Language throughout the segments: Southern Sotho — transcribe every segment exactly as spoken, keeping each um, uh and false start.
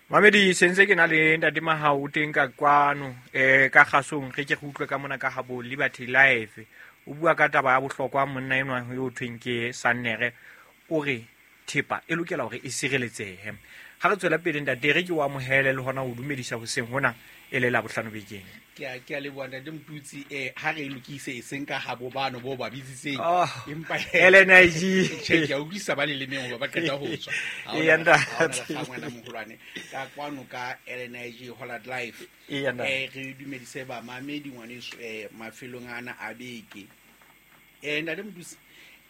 Mamedi sentse ke na le ntate Mahao teng ka kwano eh ka kgasong re ke re utlwe ka mona ka habo Liberty Life. O bua ka taba ya bohlokwa monna enwa yo thweng ke Sannere, o re thepa e lokela hore e sireletsehe. Ha re tswela pele ntate, re ke o amohele le hona ho dumedisa hoseng hona e le la bohlano bekeng. Ke a ke a leboha ntate Motutsi. eh ha re e lokise e seng ka habo bano bo ba bitsitseng, Oh, empa L N I G. Tjhe, ke a utlwisisa ba lelemeng hoba ba qeta ho tswa. Ha Eya, hona- ntate. ha hona lekgang wena moholwane. Ka kwano ka L N I G Hollard Life. Eya, ntate. Eh, re dumedise bamamedi ngwaneso, eh, mafelong ana a beke. Eh, ntate Motutsi,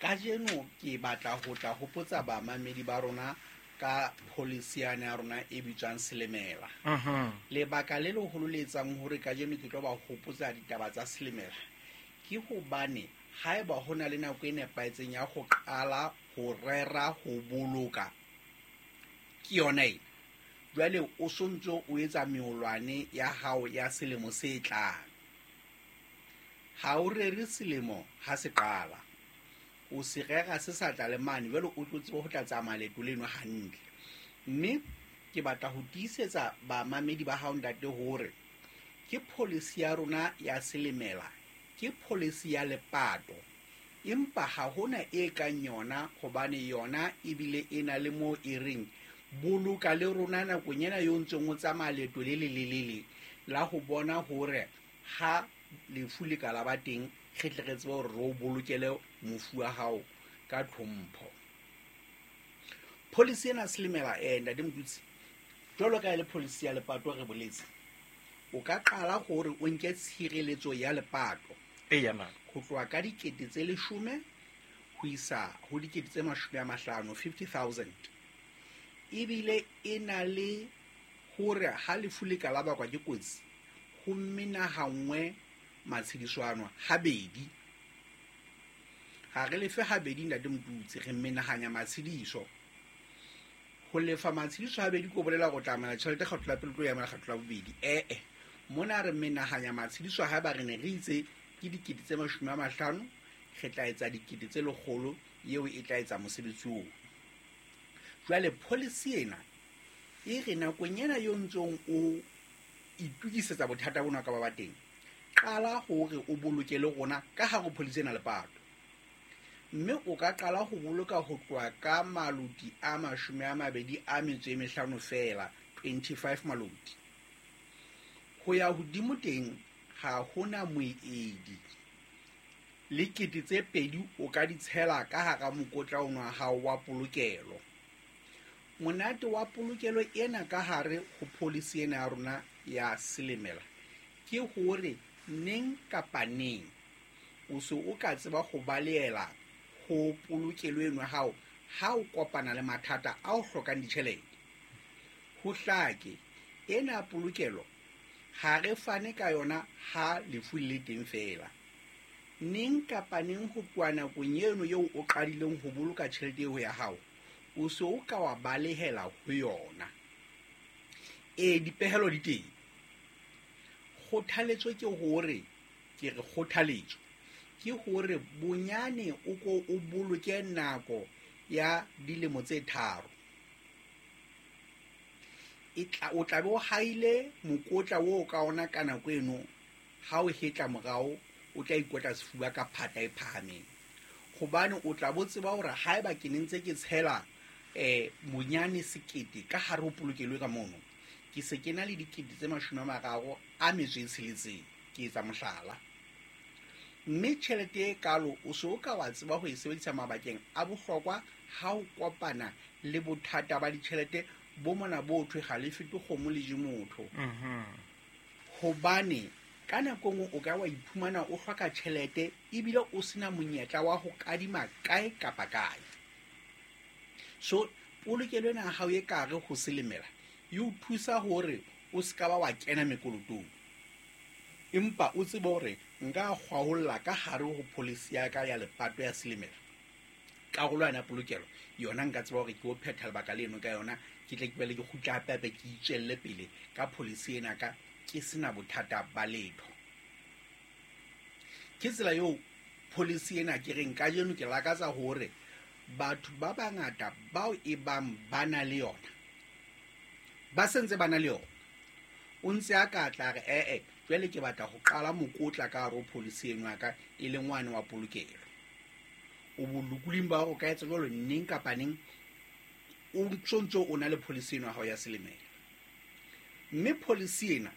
kajeno ke batla ho tla hopotsa bamamedi ba rona ka policy yane ya rona e bitswang Selemela. Mhm. Lebaka le leholo le etsang hore kajeno ke tlo ba hopotsa ditaba tsa Selemela ke hobane haeba ho na le nako e nepahetseng ya ho qala ho rera ho boloka, ke yona ena. Jwale o sontso o etsa meolwane ya hao ya selemo se tlang. Ha o rere selemo ha se qala, o se rera se sa tla le mane, jwale o tlo tsebe ho tla tsamaya leeto leno hantle. Mme ke batla ho tiisetsa bamamedi ba hao ntate hore ke policy ya rona ya Selemela, ke policy ya lepato, empa ha hona e kang yona, hobane yona ebile e na le moo e reng boloka le rona nakong ena yo ntseng o tsamaya leeto le lelelele la ho bona hore ha lefu le ka la ba teng, re tle re tsebe hore re o bolokele mofu wa hao ka tlhompho. Policy ena Selemela, eh, ntate Motutsi, jwalo ka e le policy ya lepato re boletse, o ka qala hore o nke tshireletso ya lepato Eya, ntate. ho tloha ka dikete tse leshome ho isa ho dikete tse mashome a mahlano, fifty thousand. Ebile e na le hore ha lefu le ka la bakwa ke kotsi, ho menahangwe matshediso ano habedi. Ha re lefe habedi ntate Motutsi, re menahanya matshediso. Ho lefa matshediso habedi ke ho bolela hore o tla amohela tjhelete kgetlo la pele, o tlo e amohela kgetlo la bobedi. Eh-eh, mona re menahanya matshediso haeba re ne re itse ke dikete tse mashome a mahlano, re tla etsa dikete tse lekgolo, eo e tla etsa mosebetsi oo. Jwale policy ena e re nakong ena yo ntsong o itukisetsa bothata bona ka ba ba teng, qala hore o boloke le rona ka hare ho policy ena lepato. Mme o ka qala ho boloka ho tloha ka maloti a mashome a mabedi a metso e mehlano feela, twenty-five maloti. Ho ya hodimo teng ha hona moedi. Le kete tse pedi o ka di tshela ka hara mokotla ono wa hao wa polokelo. Monate wa polokelo ena ka hare ho policy ena ya rona ya Selemela ke hore neng kapa neng o se o ka tseba ho balehela ho polokelo eno ya hao ha o kopana le mathata a o hlokang ditjhelete. Ho hlake, ena polokelo ha re fane ka yona ha lefu le teng feela. Neng kapa neng ho tloha nakong eno eo o qadileng ho boloka tjhelete eo ya hao, o se o ka wa balehela ho yona. Ee, dipehelo di teng. Kgothaletso ke hore, ke re kgothaletso ke hore bonyane o ko o boloke nako ya dilemo tse tharo. E tla, o tla be o haile mokotla oo ka ona ka nako eno, ha o hetla morao o tla ikotla sefuba ka phata e phahameng. Hobane o tla bo tseba hore haeba ke ne ntse ke tshela, eh, bonyane sekete ka hare ho polokelo ka mono, ke se ke na le dikete tse mashome a mararo a metso e tsheletseng, ke etsa mohlala. Mme tjhelete e kalo o se o ka wa tseba ho e sebedisa mabakeng a bohlokwa ha o kopana le bothata ba ditjhelete bo mona bo thwe ha le fete kgomo le je motho. Mhm. Hobane ka nako e nngwe o ka wa iphumana o hloka tjhelete ebile o sena monyetla wa ho kadima kae kapa kae. So polokelo ena ya hao e ka hare ho Selemela e o thusa hore o se ka ba wa kena mekolotong, empa o tsebe hore nka kgwaholla ka hare ho policy ya ka ya lepato ya Selemela. Karolo yona ya polokelo yona nka tseba hore ke o phetha lebaka leno ka yona, ke tle ke bele ke kgutle hape hape ke itswelle pele ka policy ena ka ke sena bothata ba letho. Ke tsela eo policy ena ke reng kajeno ke lakatsa hore batho ba bangata bao e bang ba na le yona Ba sentse ba na le yona. O ntse a ka tla re ee jwale ke batla ho qala mokotla ka hare ho policy eno ya ka e leng wane wa polokelo. O bolokolohing ba hore o ka etsa jwalo neng kapa neng, o ntso ntso o na le policy eno ya hao ya Selemela. Mme policy ena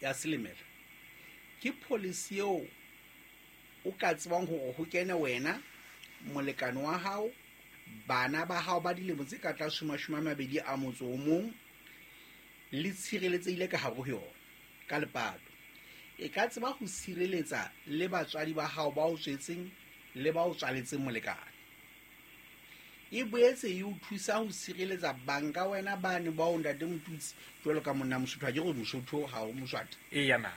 ya Selemela ke policy eo o ka tsebang hore ho kene wena, molekane wa hao, bana ba hao ba dilemo tse ka tlase ho mashome a mabedi a motso o mong, le tshireletsehile ka hare ho yona ka lepato. E ka tseba ho sireletsa le batswadi ba hao ba o tswetseng le ba o tswaletseng molekane. E boetse e o thusa ho sireletsa banka wena bane ba o ntate Motutsi jwalo ka monna Mosotho, ha ke re Mosotho ha o Moswati. Eya na.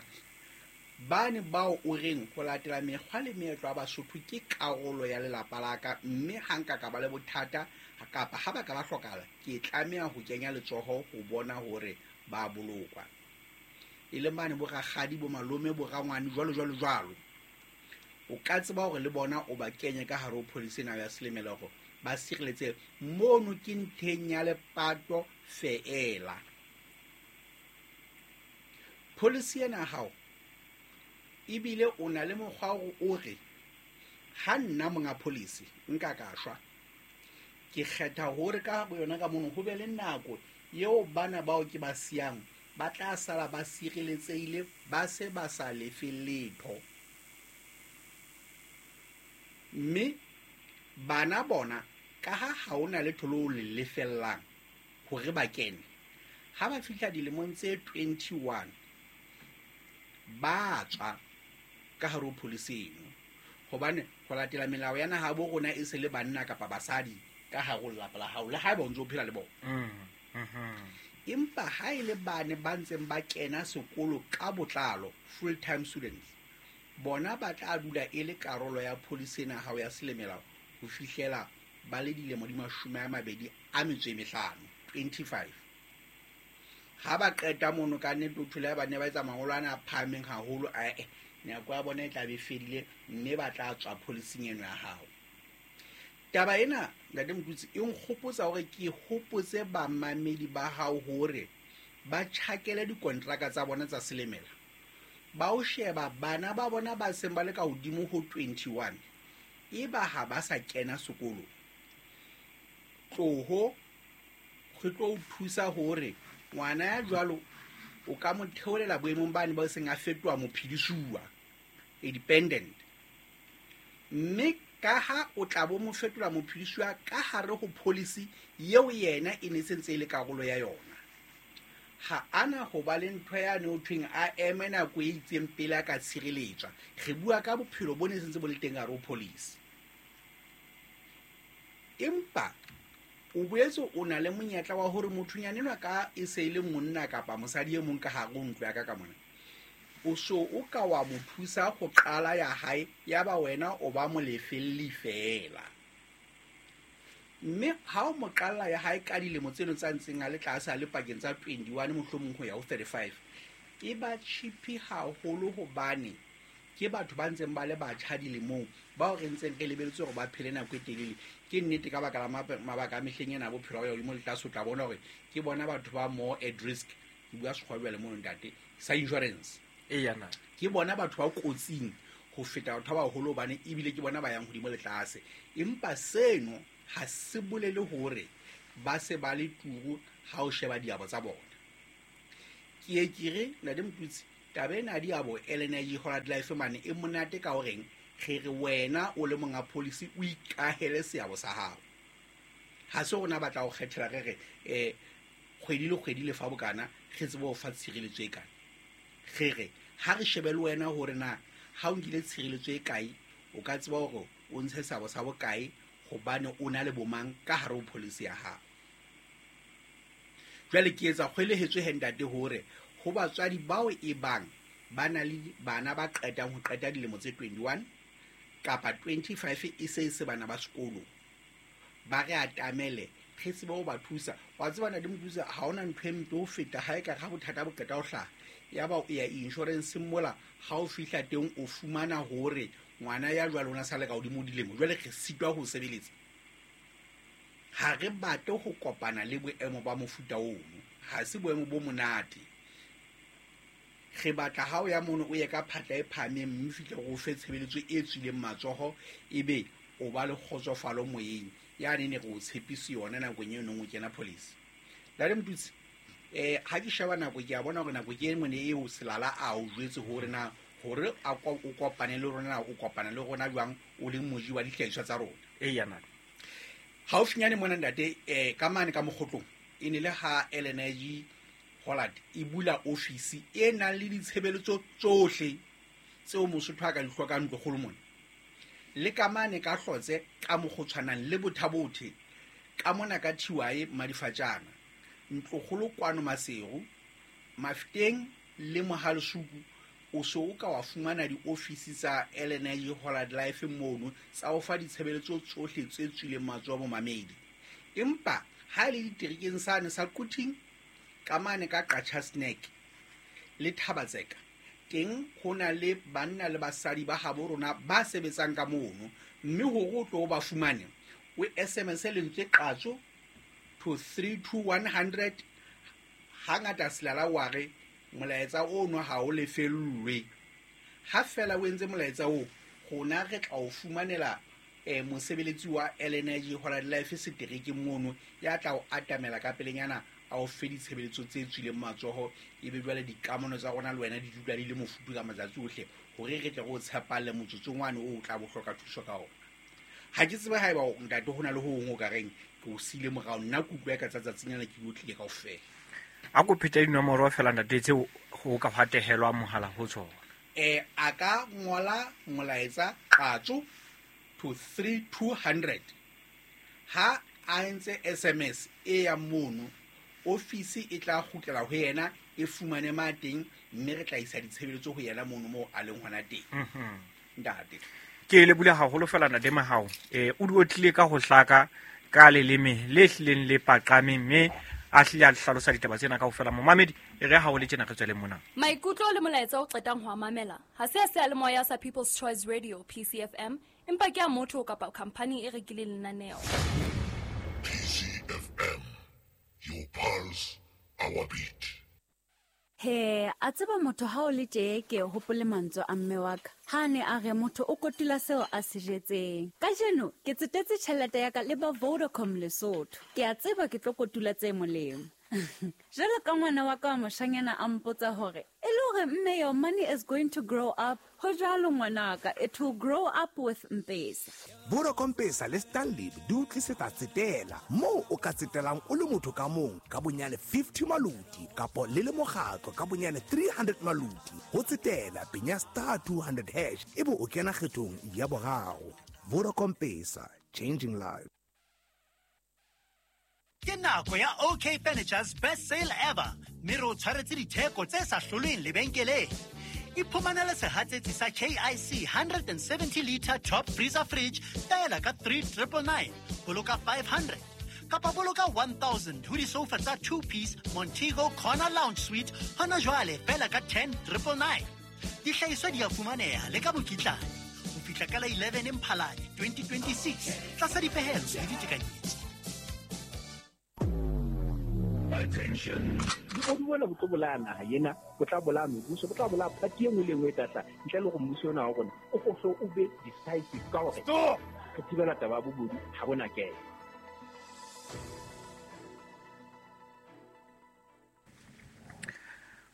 Bane bao o reng ho latela mekgwa le meetlo ya Basotho ke karolo ya lelapa la ka, mme ha nka ka ba le bothata kapa ha ba ka ba hlokahala, ke tlameha ho kenya letsoho ho bona hore ba bolokwa. E leng bane bo rakgadi, bo malome, bo rangwane, jwalo jwalo jwalo. O ka tseba hore le bona o ba kenye ka hare ho policy ena ya Selemela hore ba sireletse. Mono ke ntheng ya lepato feela. Policy ena ya hao ebile o na le mokgwa hore o re ha nna monga policy nka ka shwa, ke kgetha hore ka hare ho yona ka mono ho be le nako eo bana bao ke ba siyang ba tla sala ba sireletsehile, ba se ba sa lefe letho. Mme bana bona ka ha ha hona letho leo le lefellang hore ba kene, ha ba fihla dilemong tse twenty-one ba tswa ka hare ho policy eno, hobane ho latela melao ya naha bo rona e se le banna kapa basadi ka hare ho lelapa la hao, le haeba o ntso o phela le bona. Mm, mm-hmm. Empa ha e le bane ba ntseng ba kena sekolo ka botlalo, full time students, bona ba tla dula e le karolo ya policy ena ya hao ya Selemela ho fihlela ba le dilemo di mashome a mabedi a metso e mehlano, twenty-five. Ha ba qeta mono ka nnete o thole ba ne ba etsa mangolo ana a phahameng haholo, ae nako ya bona e tla be fedile mme ba tla tswa policing eno ya hao. Taba ena ntate Motutsi e nkgopotsa hore ke hopotse bamamedi ba hao hore ba tjhakele dikontraka tsa bona tsa Selemela, ba o sheba bana ba bona ba seng ba le ka hodimo ho twenty-one, eba ha ba sa kena sekolo, tloho re tlo o thusa hore ngwana ya jwalo o ka mo theolela boemong bane ba seng a fetoha mophedisuwa, a dependent. Mme ka ha o tla bo mo fetola mophedisuwa ka hare ho policy eo yena e ne sentse e le karolo ya yona, ha ana ho ba le ntho yane ho thweng a eme nako e itseng pele a ka tshireletswa. Re bua ka bophelo bo ne sentse bo le teng hare ho policy. Empa o boetse o na le monyetla wa hore mothonyana enwa ka e se e le monna kapa mosadi e mong ka hare ho ntlo ya ka ka mona, o so o ka wa mo thusa ho qala ya hae, ya ba wena o ba molefelli feela. Mme ha o mo qalla ya hae ka dilemo tseno tsa ntseng a le tlase a le pakeng tsa twenty-one mohlomong ho ya ho thirty-five, e ba cheap haholo hobane ke batho ba ntseng ba le batjha dilemong bao re ntseng re lebeletse hore ba phele nako e telele. Ke nnete ka baka la mabaka a mehleng ena a bophelo ba hodimo le tlase, o tla bona hore ke bona batho ba more at risk, ke bua sekgowa jwale mono ntate, sa insurance. Eya na. Ke bona batho ba kotsing ho feta batho ba baholo hobane ebile ke bona ba yang hodimo le tlase. Empa seno ha se bolele hore ba se ba le turu ha o sheba diabo tsa bona. Ke ye ke re ntate Motutsi, taba ena ya diabo L N I G Hollard Life mane e monate ka horeng re re wena o le monga policy o ikahele seabo sa hao. Ha se rona ba tla o kgethela re re eh kgwedi le kgwedi le fa bokana re tsebe ho fa tshireletso e kae. Re re ha re shebe le wena hore na ha o nkile tshireletso e kae, o ka tseba hore o ntshe seabo sa bokae hobane o na le bomang ka hare ho policy ya hao. Jwale ke etsa kgwelehetso he ntate hore ho batswadi bao e bang ba na le bana ba qetang ho qeta dilemo tse twenty-one kapa twenty-five e se e se bana ba sekolo, ba re atamele re tsebe ho ba thusa. Wa tseba ntate Motutsi, ha hona ntho e mpe ho feta ha e ka ha bothata bo qeta ho hlaha, ya ba o ya insurance mola, ha o fihla teng o fumana hore ngwana ya jwalo o na sa le ka hodimo dilemo, jwale re sitwa ho sebeletsa. Ha re batle ho kopana le boemo ba mofuta ono. Ha se boemo bo monate. Re batla ha o ya mono o ye ka phatla e phahameng mme fihle go fe tshebeletso e tswileng matsoho ebe o ba le kgotsofalo moyeng. Ya ne ne re o tshepise yona nakong eo neng o kena police. Ntate Motutsi, eh ha ke sheba nako ke a bona hore nako ke e mone eo Selala a o jwetse hore na hore a o kopane le rona o kopana le rona jwang o le moji wa dihlahiswa tsa rona. Eya nna. Haufinyane mona ntate eh ka mane ka mokgotlong e ne le ha L N G Hollard e bula ofisi e nang le ditshebeletso tsohle tseo Mosotho a ka di hlokang ntlokgolo mona. Le ka mane ka Hlotse ka mokgotshwanang le Bothabothe ka mona ka T Y Madifatjana ntlokgolo kwano Maseru Mafeteng le Mohalesuku o so o ka wa fumana diofisi tsa L N G Hollard Life mono tsa ho fa ditshebeletso tsohle tse tswileng matsoho momamedi. Empa ha le diterekeng sane sa Quthing ka mane ka Qacha Snack le Thabatseka teng ho na le banna le basadi ba habo rona ba sebetsang ka mono mme hore o tlo ba fumane o S M S lentswe qatso to three two one hundred. Hangata Selala wa re molaetsa ono ha o lefellwe. Ha fela o entse molaetsa o rona re tla o fumanela eh mosebeletsi wa L N G Hollard Life seterekeng mono ya tla o atamela ka pelenyana a o fe ditshebeletso tse tswileng matsoho ebe jwale dikamano tsa rona le wena di dula di le mofuthu ka matsatsi ohle hore re tle re o tshepalle motsotsong wane o tla bo hloka thuso ka ona. Ha ke tsebe haeba ntate ho na le ho hong o ka reng ke o siile morao nna ke utlwa ka tsatsing lena ke otlile kaofela. A ko phete dinomoro fela ntate tseo ho ka hatehelwa mohala ho tsona. Eh a ka ngola molaetsa qatso to three two hundred. Ha a entse S M S e ya mono ofisi e tla kgutlela ho yena e fumane ma teng mme re tla isa ditshebeletso ho yena mono moo a leng hona teng. Mhm. Ntate ke le bula haholo fela ntate Mahao. Eh o di otlile ka ho hlaka ka leleme le hlileng le paqameng mme a hlile a hlalosa ditaba tsena kaofela. Momamedi e re ha o le tjena re tswele mona. Maikutlo le molaetsa o qetang ho a mamela ha se a seyalemoya sa People's Choice Radio P C F M empa ke a motho kapa company e rekileng lenaneo. P C F M, your pulse, our beat. He, a tseba motho ha o le tje ke hopole mantswe a mme wa ka. Ha ne a re motho o kotula seo a se jetseng. Kajeno ke tsetetse tjhelete ya ka le ba Vodacom Lesotho. Ke a tseba ke tlo kotula tse molemo. Jwalo ka ngwana wa ka wa moshanyana a mpotsa hore e le hore mme your money is going to grow up. Ho jwalo ngwanaka, it will grow up with M-Pesa. Vodacom Pesa le Stanley di o tlisetsa tsetela moo o ka tsetelang o le motho ka mong ka bonyane fifty maluti kapo le le mokgatlo ka bonyane three hundred maluti. Ho tsetela penya star two hundred hash ebe o kena kgethong ya boraro. Vodacom Pesa, changing lives. Ke nako ya O K Furniture's best sale ever. Mme re o tshwaretse ditheko tse sa hlolweng lebenkeleng. Iphumanele sehatsetsi sa K I C one seventy liter top freezer fridge feela ka three triple nine. Boloka five hundred. Kapa boloka one thousand ho disofa tsa two piece Montego Corner Lounge Suite hona jwale feela ka ten triple nine. Dihlahiswa di a fumaneha le ka mokitlane ho fihla ka la eleven Mphalane twenty twenty-six tlasa dipehelo le ditekanyetso. Attention. O di bona bo tlo bolaya naha ena, bo tla bolaya mebuso, bo tla bolaya party e nngwe le nngwe e tla tla ntle le hore mmuso ona wa rona o kgohle o be decisive ka hore re thibela taba ya bobodu ha bona kena.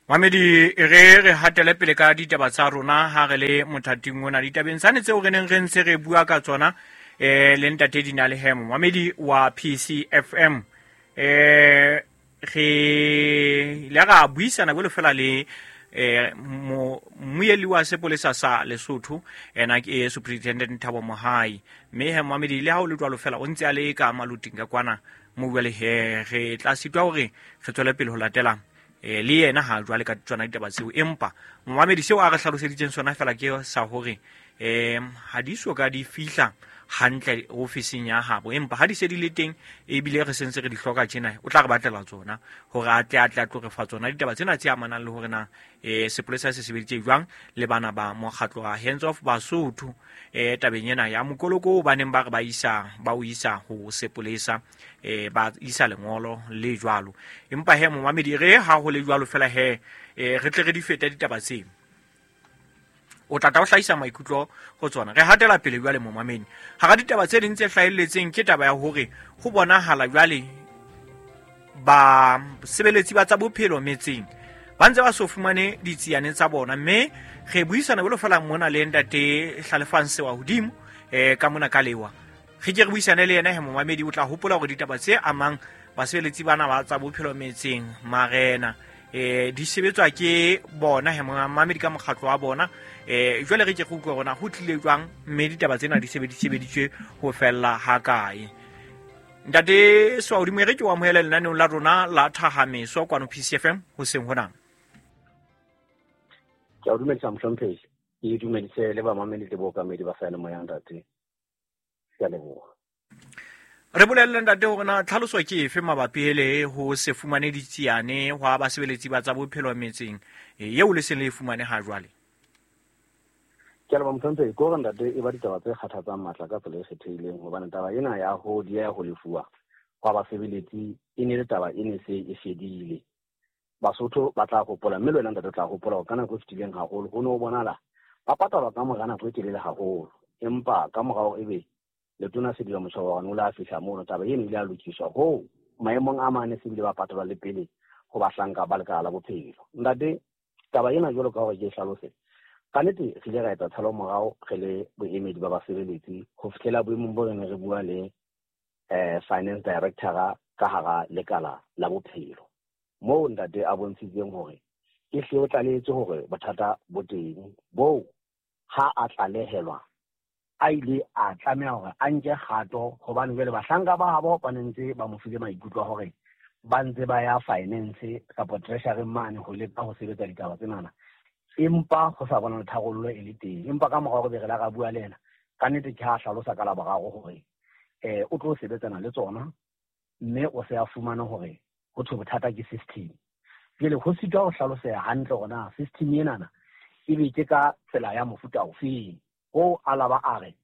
Mamedi re re hatele pele ka ditaba tsa rona ha re le mothating ona ditabeng tsane tseo re neng re ntse re bua ka tsona eh le ntate Dinale Hemo mamedi wa P C F M eh re le ra buisana bolo fela le eh mmuelli wa sepolesa sa Lesotho ena ke Superintendent Thabo Mohai mme he mamedi le ha o le jwalo fela o ntse a le ka maluting ka kwana mo bua le he re tla sitwa hore re tswele pele ho latela eh le yena ha jwale ka tsona ditaba tseo empa momamedi seo a re hlaloseditseng sona fela ke sa hore um ha di so ka di fihla hantle ofising ya habo, empa ha di se di le teng ebile re sentse re di hloka tjena, o tla re batlela tsona hore a tle a tle a tlo re fa tsona ditaba tsena tse amanang le hore na eh sepolesa se sebeditse jwang le bana ba mokgatlo wa Hands Off Basotho eh tabeng ena ya mokoloko ba neng ba re ba isa ba o isa ho sepolesa eh ba isa lengolo le jwalo. Empa he momamedi re ha ho le jwalo fela he eh re tle re di fete ditaba tseo, o tla tla o hlahisa maikutlo ho tsona. Re hatela pele jwale momamedi hara ditaba tse ding tse hlahelletseng ke taba ya hore ho bonahala jwale ba sebeletsi ba tsa bophelo metseng ba ntse ba so fumane ditsiane tsa bona, mme re buisana jwalo fela mona le ntate Hlalefang Sewa hodimo eh ka mona ka lewa re ke re buisane le yena he momamedi. O tla hopola hore ditaba tse amang basebeletsi bana ba tsa bophelo metseng marena eh di sebetswa ke bona he momamedi ka mokgatlo wa bona. Eh jwale re ke go utlwa rona ho tlile jwang mme ditaba tsena di sebedisebeditswe ho fella ha kae. Ntate Sewa hodimo, re ke o amohele lenaneong la rona la Thahameso kwano P C F M hoseng hona. Ke a dumedisa mohlomphehi, ke dumedise le bamamedi le bookamedi ba seyalemoya ntate. Ke a leboha. Re bolelle ntate hore na tlhaloso ke efe mabapi le ho se fumane ditsiane hwa basebeletsi ba tsa bophelo metseng eo le seng le e fumane ha jwale. Ke a leboha mohlomphehi, ke hore ntate e ba ditaba tse kgathatsang matla ka tsela e kgethehileng, hobane taba ena ya ho dieha ho lefuwa hwa basebeletsi e ne le taba e ne se e fedile. Basotho ba tla hopola, mme le wena ntate o tla hopola hore ka nako e fetileng haholo ho ne ho bonahala ba patalwa ka mora nako e telele haholo, empa ka morao ebe letona Sediba Moshoana o la fihla mono, taba eno ile ya lokiswa hoo maemong a mane se bile ba patalwa le pele ho bahlanka ba lekala la bophelo. Ntate, taba ena jwalo ka hore ke e hlalose, ka nnete re ile ra etsa tshalo morao re le boemedi ba basebeletsi ho fihlela boemong bo re ne re bua le eh finance director ka hara lekala la bophelo, moo ntate a bontshitseng hore e hle o tlalehetse hore bothata bo teng boo ha a tlalehelwa a ile a tlameha hore a nke kgato, hobane jwale bahlanka ba habo ba ne ntse ba mo file maikutlo a hore ba ntse ba ya finance kapa treasury mane ho leka ho sebetsa ditaba tsenana, empa ho sa bona tharollo e le teng. Empa ka morao re be re la ra bua le yena, ka nnete ke ha hlalosa ka laboraro hore eh o tlo sebetsana le tsona, mme o se a fumana hore ho thwe bothata ke system. Jwale ho sitwa ho hlaloseha hantle hore na system enana ebe ke ka tsela ya mofuta ofeng. Ho alaba a re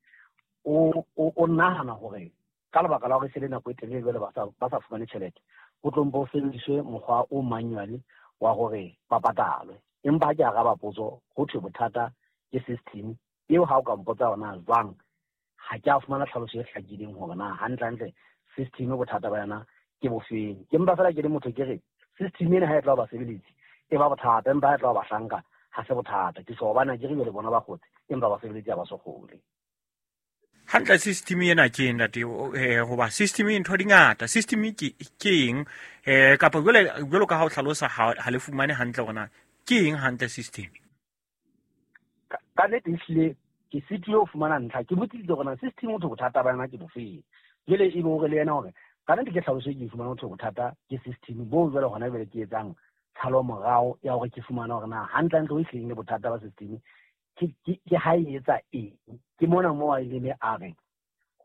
o o nahana hore ka lebaka la hore se le nako e telele jwale ba sa ba sa fumane tjhelete, ho tlo mpo ho sebediswe mokgwa o manual wa hore ba patalwe. Empa ha ke araba potso, ho thwe bothata ke system eo. Ha o ka mpotsa hore na jwang, ha ke a fumana tlhaloso e hlakileng hore na hantlentle system bothata ba yona ke bofeng. Ke mpa fela ke le motho ke re system ena ha e tla ba basebeletsi e ba bothata, empa ha e tla ba bahlanka ha se bothata. Ke so bana ke re jwale bona ba kgotse, empa basebeletsi ha ba so kgole. Hantle system ena ke eng ntate? Eh hoba system e ntho di ngata, system ke ke eng eh kapa jwale jwalo ka ha o hlalosa ha le fumane hantle hore na ke eng hantle system? Ka nnete ehlile ke sitile ho fumana ntlha, ke botsitse hore na system o thwe bothata ba yona ke bofeng. Jwale ebe hore le yena hore ka nnete ke tlhaloso e ke e fumane ho thwe bothata ke system bo jwale hona jwale ke etsang tshalo morao ya hore ke fumana hore na hantlentle ho ehlileng le bothata ba system ke ke ha e etsa eng. Ke mona moo a ileng a re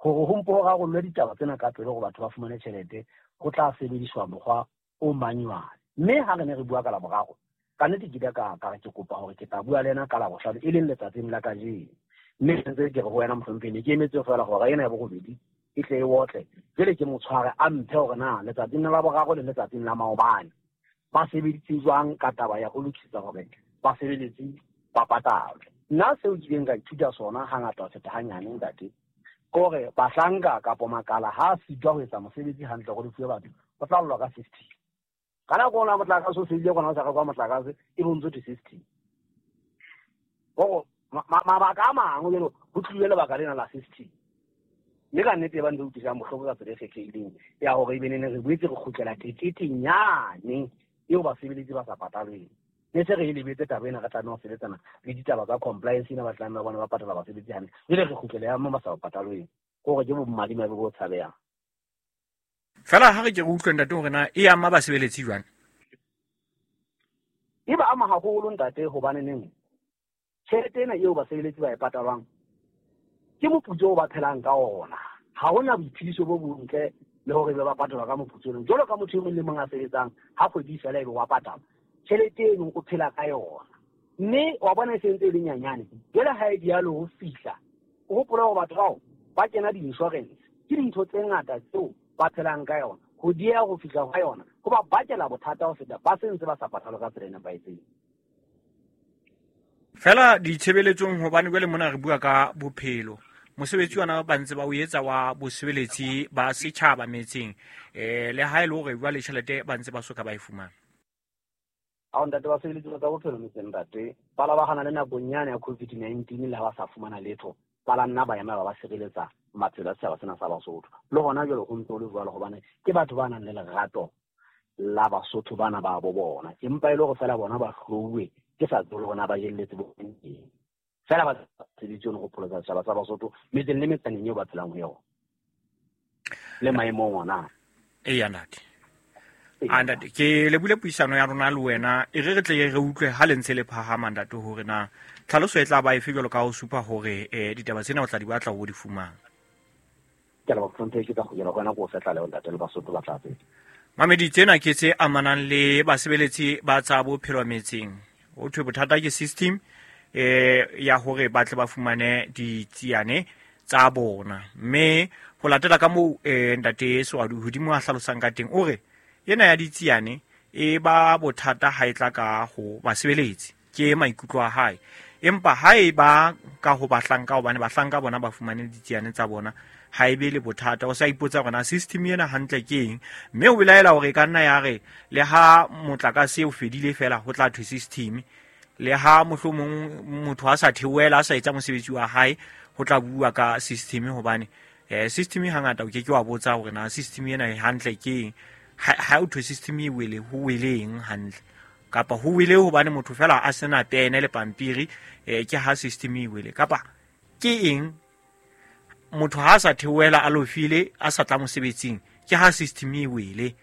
hore ho mpo ho rarollwe ditaba tsena ka pele hore batho ba fumane tjhelete, ho tla sebediswa mokgwa o manual. Mme ha re ne re bua ka laboraro, ka nnete ke ile ka ka re ke kopa hore ke tla bua le yena ka labohlano e leng letsatsing la kajeno. Mme ntse ke re ho wena mohlomphehi, ne ke emetse feela hora ena ya borobedi e tle e otle, jwale ke mo tshware a mphe hore na letsatsing la boraro le letsatsing la maobane ba sebeditse jwang ka taba ya ho lokisetsa hore basebeletsi ba patalwe. Nna seo ke ileng ka ithuta sona hangata ho feta hanyane ntate, ke hore bahlanka kapo makala ha a sitwa ho etsa mosebetsi hantle hore lefuwe batho, ho tla llwa ka system. Ka nako ona motlakase o fedile, kona o sa rekwa motlakase, e bontse thwe system. Hore mabaka a mangwe jwalo ho tlile lebaka lena la system. Mme ka nnete e ba ntse utlwisang bohloko ka tsela e kgethehileng ya hore ebe nene re boetse re kgutlela teketeng yane eo basebeletsi ba sa patalweng. Ne se re e lebetse taba ena, re tlameha ho sebetsana le ditaba tsa compliance ena, ba tlameha bona ba patala basebetsi hantle. Jwale re kgutlele ya mo ba sa patalweng, ke hore ke bomadimabe bo tshabehang. Fela ha re ke re utlwe ntate hore na e ama basebeletsi jwang? E ba ama haholo ntate, hobane neng tjhelete ena eo basebeletsi ba e patalwang Ke moputso o ba phelang ka ona. Ha hona boiphediso bo bontle le hore be ba patalwa ka moputso ono. Jwalo ka motho e mong le mong a sebetsang, ha kgwedi e fela ebe wa patala. Tjhelete eno o phela ka yona. Mme wa bona e sentse e le nyanyane. Jwale ha e dialo ho fihla, o hopola hore batho bao ba kena di-insurance. Ke dintho tse ngata tseo ba phelang ka yona. Ho dieha ho fihla ha yona, ho ba bakela bothata ho feta ba sentse ba sa patalwa ka tsela e nepahetseng. Fela ditshebeletsong hobane jwale mona re bua ka bophelo. Mosebetsi ona ba ntse ba o etsa wa bosebeletsi ba setjhaba metseng. Eh le ha e le hore jwale tjhelete ba ntse ba soka ba e fumana. Ha ntate ba sebeletsi ba tsa bophelo metseng ntate, ba la ba hana le nakong yane ya COVID nineteen le ha ba sa fumana letho, ba la nna ba ema ba ba sireletsa maphelo a setjhaba sena sa Basotho. Le hona jwale ho ntse ho le jwalo hobane ke batho ba nang le lerato la Basotho bana ba bo bona. Empa e le hore fela bona ba hlouwe ke sa tsebe hore na ba jelletse bo eng. Fela ba sebeditse ho pholosa setjhaba sa Basotho metseng le metsaneng eo ba phelang ho yona. Le maemong ona. Eya ntate. A ntate, ke lebule puisano ya rona le wena, e re re tle re utlwe ha le ntse le phahama ntate hore na tlhaloso e tla ba efe jwalo ka ho supa hore eh ditaba tsena o tla di batla ho di fumana. Ke a leboha Hlomphehi, ke tla kgutlela ho wena ko o fe tlaleho ntate le Basotho ba tla tseba. Mamedi, tsena ke tse amanang le basebeletsi ba tsa bophelo metseng. Ho thwe bothata ke system eh ya hore ba tle ba fumane ditsiane tsa bona. Mme ho latela ka moo eh ntate Sewadu hodimo a hlalosang ka teng, o re ena ya ditsiane e ba bothata ha e tla ka ho basebeletsi, ke maikutlo a hae. Empa ha e ba ka ho bahlanka, hobane bahlanka bona ba fumane ditsiane tsa bona, ha e be le bothata. O sa ipotsa hore na system ena hantle ke eng, mme o belaela hore e ka nna ya re le ha motlakase o fedile fela ho tla thwe system, le ha mohlomong motho a sa theohela a sa etsa mosebetsi wa hae ho tla bua ka system, hobane eh system hangata o ke ke wa botsa hore na system ena e hantle ke eng. Ha ha o thwe system e wele, ho wele eng hantle, kapa ho wele hobane motho fela a sena pene le pampiri, eh ke ha system e wele, kapa ke eng motho ha sa theohela a lofile a sa tla mosebetsing, ke ha system e wele,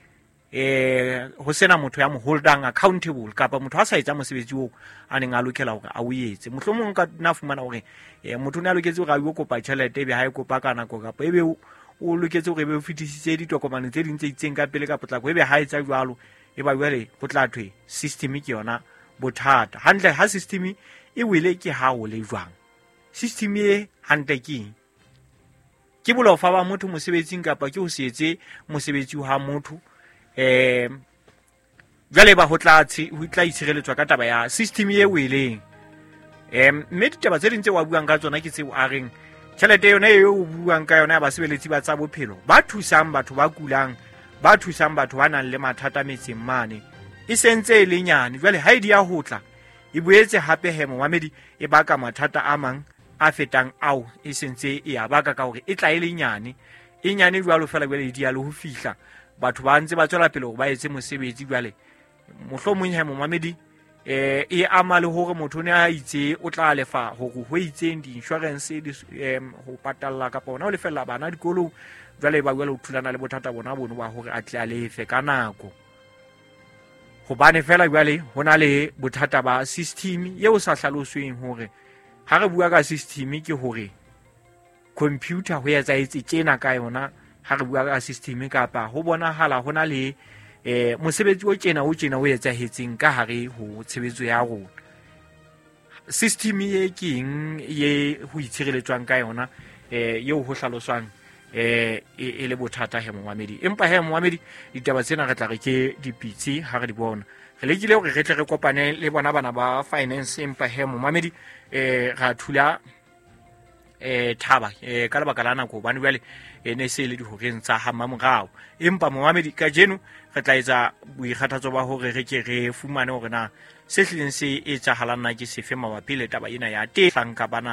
eh ho sena motho ya mo holdang accountable, kapa motho ha sa etsa mosebetsi oo a neng a lokela hore a o etse. Mohlomong ka nna fumana hore eh motho o ne a loketse hore a yo kopa tjhelete, ebe ha e kopa ka nako, kapa ebe o loketse hore ebe o fetisitse ditokomane tse ding tse itseng ka pele ka potlako, ebe ha etsa jwalo, e ba jwale ho tla thwe system ke yona bothata. Hantle ha system e wele ke ha o le jwang? System e hantle ke eng? Ke bolofa ba motho mosebetsing kapa ke ho se etse mosebetsi wa motho? Eh jwale ba ho tla ho tla itshireletswa ka taba ya system e weleng. Eh mme ditaba tse ding tse wa buang ka tsona ke tseo a reng tjhelete yona eo o buang ka yona ya basebeletsi ba tsa bophelo ba thusang batho ba kulang, ba thusang batho ba nang le mathata metseng mane, e sentse e le nyane. Jwale ha e di ya ho tla e boetse hape he momamedi e baka mathata a mang a fetang ao e sentse e a baka, ka hore e tla e le nyane, e nyane jwalo fela jwale e di ya le ho fihla batho ba ntse ba tswela pele hore ba etse mosebetsi. Jwale mohlomong he momamedi eh e ama le hore motho ne a itse o tla lefa hore ho itseng di-insurance di ho patalla kapa ona ho lefella bana dikolong, jwale ba jwale o thulana le bothata bona bono ba hore a tle a lefe ka nako, hobane fela jwale ho na le bothata ba system eo sa hlalosweng hore ha re bua ka system ke hore computer ho etsahetse tjena ka yona. Ha re bua ka system kapa ho bonahala ho na le eh mosebetsi o tjena o tjena o etsahetseng ka hare ho tshebetso ya rona. System e ke eng ye ho itshireletswang ka yona eh eo ho hlaloswang eh e le bothata he momamedi. Empa he momamedi ditaba tsena re tla re ke dipitsi ha re di bona. Re lekile hore re tle re kopane le bona bana ba finance, empa he momamedi eh ra thula eh thaba eh ka lebaka la nako, hobane jwale e ne se le dihoreng tsa ha mamorao. Empa momamedi kajeno re tla etsa boikgathatso ba hore re ke re fumane hore na se hlileng se etsahalang na ke sefe mabapi le taba ena ya teng hlanka bana.